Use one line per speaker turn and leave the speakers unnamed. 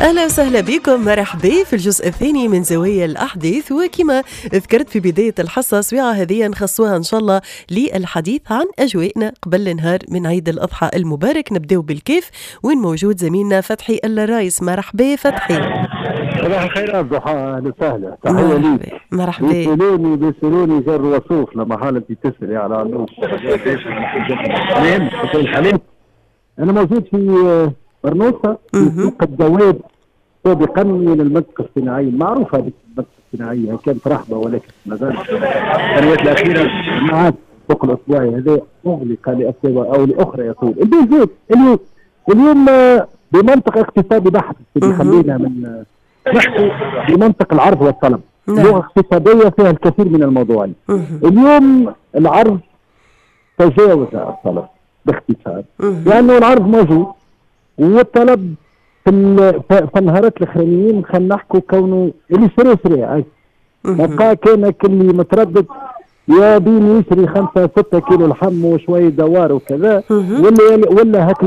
اهلا وسهلا بكم، مرحبا في الجزء الثاني من زوايا الاحداث. وكما ذكرت في بداية الحصه، سويعه هذه نخصوها ان شاء الله للحديث عن اجواءنا قبل نهار من عيد الاضحى المبارك. نبداو بالكاف وين موجود زميلنا فتحي الرايس. مرحبا فتحي.
صباح الخير ضحى، اهلا وسهلا، تحية ليك.
مرحبا.
بيسألوني جر وصوف لما حالة انت تسألي على علوش. انا موجود في برنوسة في سوق الدواب سابقا من المنطقة الصناعية المعروفة. هذه المنطقة الصناعية كانت رحبة، ولكن ما زالت السنوات الأخيرة مع السوق الأسبوعي هذا أغلق لأسباب أو لأخرى يطول. البيزيت اليوم بمنطق اقتصادي بحت، خلينا من نحكي بمنطق العرض والطلب. لغة اقتصادية فيها الكثير من الموضوعات. اليوم العرض تجاوز الطلب باختصار، لأنه يعني العرض موجود والطلب في النهارات الاخرانيين خلينا نحكوا كونه اللي شري شري، بقى كان اللي متردد يا بين يشري 5 6 كيلو لحم وشوية دوار وكذا، ولا هاك.